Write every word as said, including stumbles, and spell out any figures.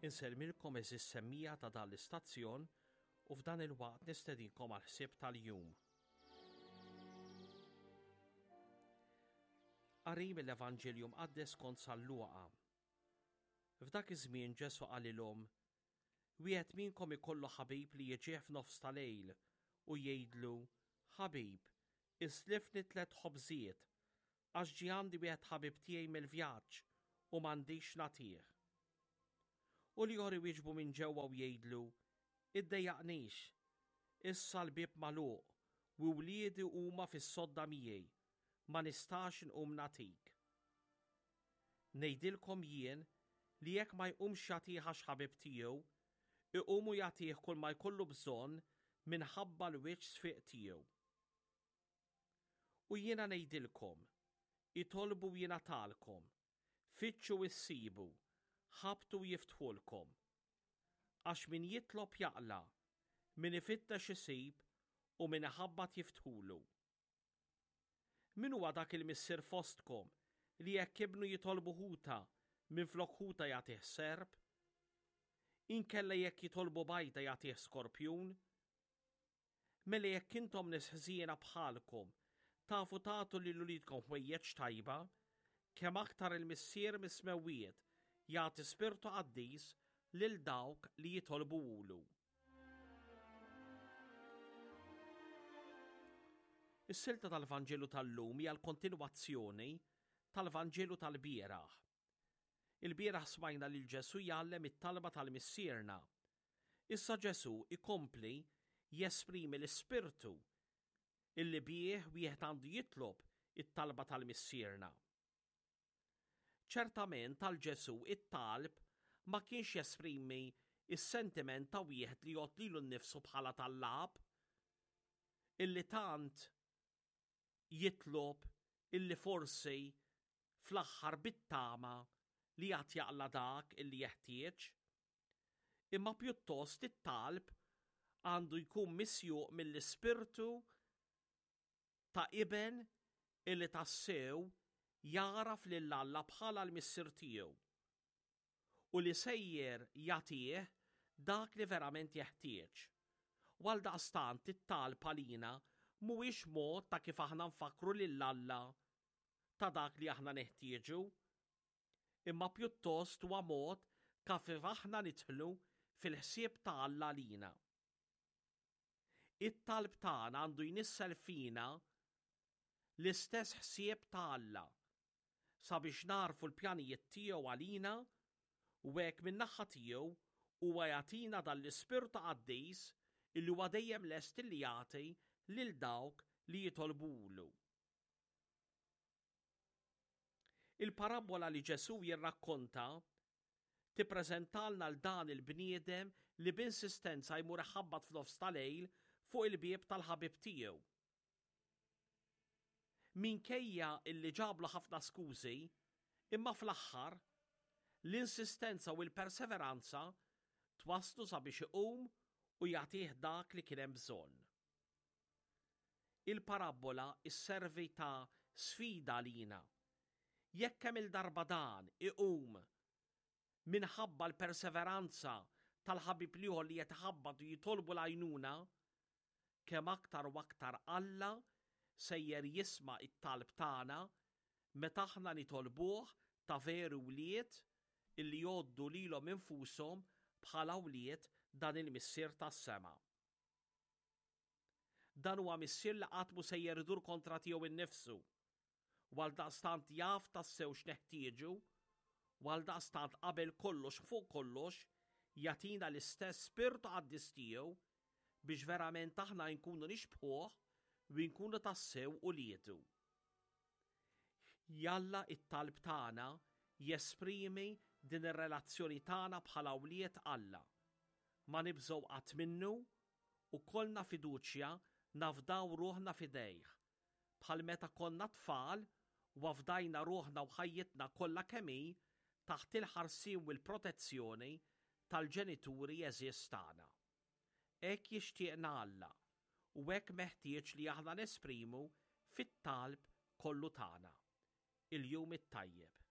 Insellmilkom għeżież semmiegħa ta' dan l-istazzjon u f'dan il-waqt nistedinkom għal ħsieb tal-jum. Qari mill-Evanġelju Mqaddes kont San Luqa. F'dak iż-żmien Ġesù qalilhom, Wieħed minnkom ikollu ħabib li jiġih f'nofs ta' lejl u jgħidlu, Ħabib, islifni tliet ħobżiet, għax ġie għandi wieħed ħabib tiegħi mill-vjaġġ u m'għandix nagħtih. U l-ieħor iwieġbu minn ġewwa u jgħidlu, Iddejjaqnix, issa l-bieb magħluq u wliedi huma fis-sodda miegħi, ma nistax nqum nagħtik. Ngħidilkom jien li jekk ma jqumx jagħtih għax ħabib tiegħu, iqum u jagħtih kull ma jkollu bżonn minħabba l-wiċċ sfiq tiegħu. U jiena ngħidilkom, itolbu u jingħatalkom, fittxu u ssibu, ħabbtu u jiftħulkom. Għax min jitlob jaqla', min ifittex isib u min iħabbat jiftħulu. Min huwa dak il-missier fostkom li jekk ibnu jitolbu ħuta minflok ħuta jagħtih serp? Inkella jekk jitolbu bajda jagħtih skorpjun? Mela jekk intom nies ħżiena bħalkom tafu tagħtu lil uliedkom ħwejjeġ tajba, kemm aktar il-Missier mis-smewwiet jagħti Spirtu Qaddis lil dawk li jitolbuhulu. Is-silta tal-Vanġelu tal-lum hija l-kontinwazzjoni tal-Vanġelu tal-bieraħ. Il-bieraħ smajna lil Ġesù jgħallem it-talba tal-Missierna. Issa Ġesù ikompli jesprimi l-ispirtu illi bih wieħed għandu jitlob it-talba tal-Missierna. Ċertament għal Ġesù it-talb ma kienx jesprimi s-sentiment ta' wieħed li jgħodd lilu nnifsu bħala tallab, illi tant jitlob illi forsi fl-aħħar bit-tama li għad jaqla' dak illi jeħtieġ. Imma pjuttost it-talb għandu jkun misjuq mill-ispirtu ta' iben illi tassew jagħraf lil Alla bħala l-Missier tiegħu u li sejjer jagħtih dak li verament jeħtieġ. U għaldaqstant it-talb għalina mhuwiex mod ta' kif aħna nfakkru lil Alla ta' dak li aħna neħtieġu, imma pjuttost huwa mod kif aħna nidħlu fil-ħsieb ta' Alla għalina. It-talb tagħna għandu jnissel fina l-istess ħsieb ta' Alla sabiex nagħrfu l-pjanijiet tiegħu għalina u hekk min-naħa tiegħu huwa jagħtina dan l-Ispirtu Qaddis illi huwa dejjem lest illi jagħti lil dawk li jitolbulu. Il-parabbola li Ġesù jirrakkonta tippreżentalna 'l dan il-bniedem li b'insistenza jmur iħabbat f'nofs ta' lejl fuq il-bieb tal-ħabib tiegħu. Minkejja illi ġablu ħafna skużi, imma fl-aħħar, l-insistenza u l-perseveranza twasslu sabiex iqum u jagħtih dak li kien hemm bżonn. Il-parabbola sservi ta' sfida għalina. Jekk kemm-il darba dan iqum minħabba l-perseveranza tal-ħabib l-ieħor li qed iħabbat u jitolbu l-għajnuna, kemm aktar u aktar Alla sejjer jisma' t-talb tagħna meta aħna nitolbuh ta' veru wlied illi jgħoddu lilhom infushom bħala wlied dan il-Missier tas-sema. Dan huwa Missier li qatt mhu sejjer idur kontra tiegħu nnifsu, u għaldaqstant jaf tassew x'neħtieġu, u għaldaqstant qabel kollox fuq kollox jagħtina l-istess Spirtu Qaddis tiegħu biex verament aħna nkunu nixbħuh u nkunu tassew uliedu. Jalla it-talb tagħna jesprimi din ir-relazzjoni tagħna bħala wlied Alla. Ma nibżgħu qatt minnu u kollna fiduċja nafdaw ruħna f'idejh, bħal meta konna tfal u afdajna ruħna u ħajjitna kollha kemm hi taħt il-ħarsien u l-protezzjoni tal-ġenituri għeżież tagħna. Hekk jixtieqna Alla u hekk meħtieġ li aħna nesprimu fit-talb kollu tagħna. Il-jum it-tajjeb.